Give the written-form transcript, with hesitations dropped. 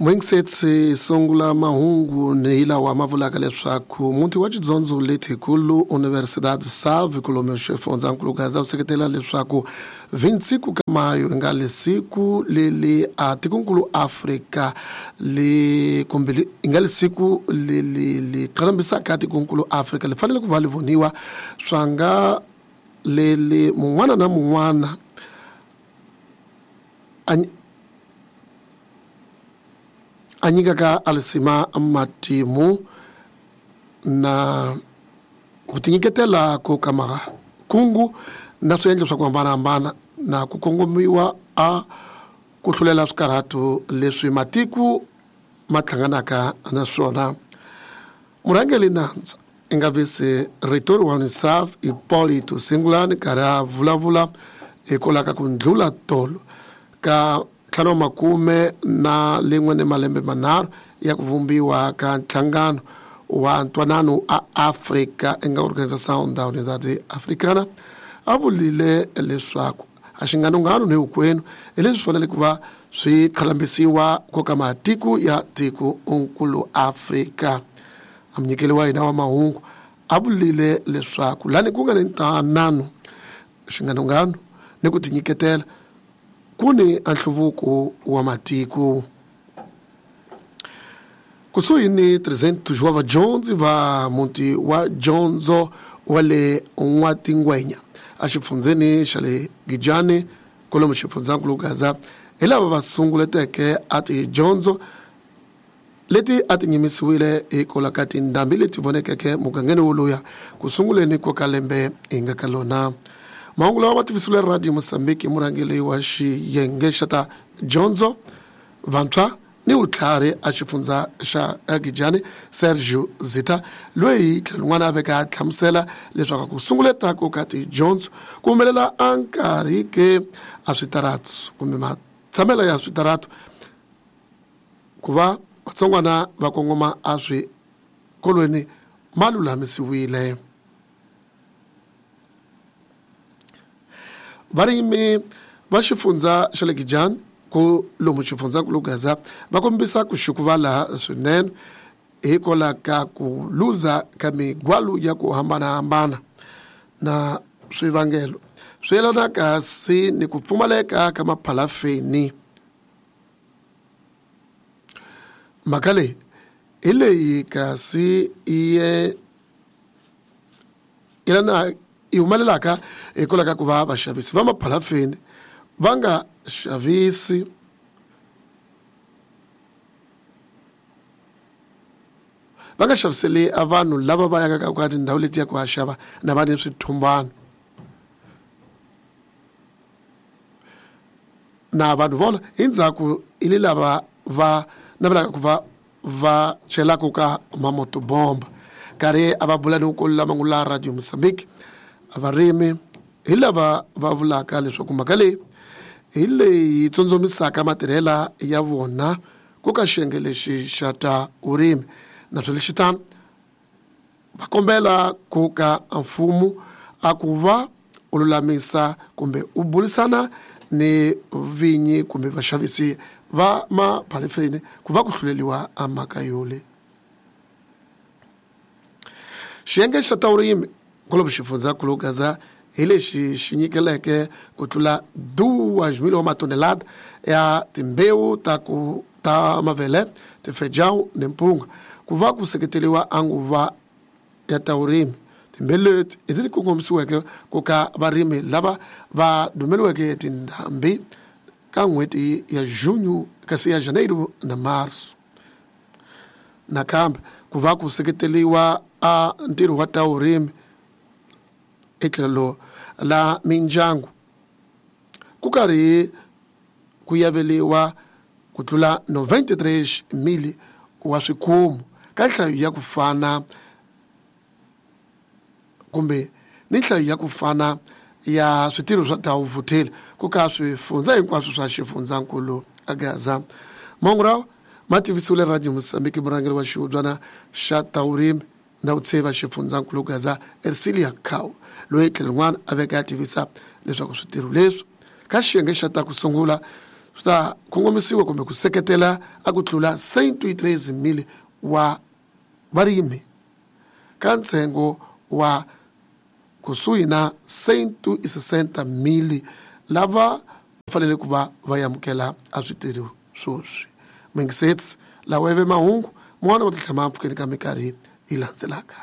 Muingisetsi sungula mahungu ni lawa ma vulaka leswaku muti wa tidyondzo letikulu Universidade Save kulomu xifundzankulu Gaza wu seketela leswaku 25 ka mayo nga le siku leli a tikonkulu Afrika le kumbe i nga le siku leli li qhalambisaka tikonkulu Afrika li fanele ku va li voniwa swa nga leli mun'wana na mun'wana a nyikaka alisima matimu na ku tinyiketela ko ka makungu na swiendlo swa ku hambanahambana na ku kongomiwa a ku hlulela swikarhato leswi matiko ma hlanganaka na swona. Murhangeri nandza i nga vise rito ri wa UNICEF Hipólito Sengulani karhi a vulavula hikwalaho ka ku ndlula tolo ka 51 ni malembe manharhu ya ku vumbiwa ka nhlangano wa ntwanano a Afrika i nga Organização da Unidade Africana, a vulile leswaku a xinganongano ni hinkwenu hi leswi fanele ku va swi khalambisiwa ko ka matiko ya tiko nkulu Afrika. A munyikeli wa hina wa mahungu a vulile leswaku lani ku nga ni ntwanano, xinganongano ni ku tinyiketela ku ni a nhluvuko wa matiko. Kusuhi ni 300 wa vadyondzi va muti wa dyondzo wa le N'watingwenya exifundzheni xa le Gijani kwalomu xifundzankulu Gaza hi lava va sunguleteke a tidyondzo leti a ti nyimisiwile hikwalaho ka tindhambi leti vonekeke mugangeni woluya ku sunguleni ko ka lembe hi nga ka lona. Mahungu lawa ma tivisiwile Radio Mozambique hi murhangeri wa xiyenge xa ta dyondzo vantshwa ni vutlhari a xifundza xa Gijani Sergio Zita, loyi tlhelo rin'wana a veka a hlamusela leswaku ku sunguleta ko ka tidyondzo ku humelela a nkarhi ke a switaratu kumbe matshamelo ya switaratu ku va vatsongwana va kongoma a swikolweni ma lulamisiwile. Varimi va xifundza xa le Gijani ku lomu xifundzankulu Gaza va kombisa ku xukuvala swinene hikwalaho ka ku luza ka migwalu ya ku hambanahambana na swivangelo swi yelana kasi ni ku pfumaleka ka maphalafeni. Mhaka leyi hi leyi kasi yi yelana yi humelelaka hikwalaho ka ku va vaxavisi va maphalafeni va nga xavisi va nga xaviseli a vanhu lava va yaka ka tindhawu leti ya ku ya xava na va ni swithumbana na vanhu vola hi ndzhaku i le lava va navelaka ku va va chelaka ka mamotobomba. Karhi a va bula ni ku lama ngula Radio Mozambique varimi hi lava va vulaka leswaku mhaka leyi hi leyi tsondzomisaka matirhela ya vona ku ka xiyenge lexi xa ta vurimi, naswona lexi tano va kombela ku ka mfumo a ku va u lulamisa kumbe u burisana ni vinyi kumbe vaxavisi va maphalafeni ku va ku hluleliwa a mhaka yole. Xiyenge xa ta vurimi kwalomu xifundzankulu Gaza hi lexi xi nyikeleke ku tlula 2,000 wa matonelada ya timbewu ta ku ta mavele, tifejawu ni mpunga ku va ku seketeriwa a nguva ya ta vurimi. Timbewu leti hi leti kongomisiweke ku ka varimi lava va dumeliweke tindhambi ka n'hweti ya Junho kasi ya Janeiro na Marso. Nakambe ku va ku seketeriwa a ntirho wa ta vurimi etlhelo la mindyangu ku karhi ku yaveliwa ku tlula 93,000 wa swikhumu ka nhlayo ya ku fana kumbe ni nhlayo ya ku fana ya switirho swa ta vutheli ku ka swifundza hinkwaswo swa xifundzankulu a Gaza. Mahungu lawa ma tivisiwile Radio Mozambique murhangeri wa xihubyana xa ta vurimi na vutsheva xifundzankulu Gaza Ercilia Cow, loyi tlhelo rin'wana a veka a tivisa leswaku switirho leswi ka xiyenge xa ta ku sungula Swi ta kongomisiwa kumbe ku seketela a ku tlula 103 000 wa varimi ka ntsengo wa kusuhi na 160 000 lava fanele ku va va amukela a switirho swoswi. Mingisets lawa ive mahungu mun'wana wa tihlama mpfhukeni ka minkarhi yi landzelaka.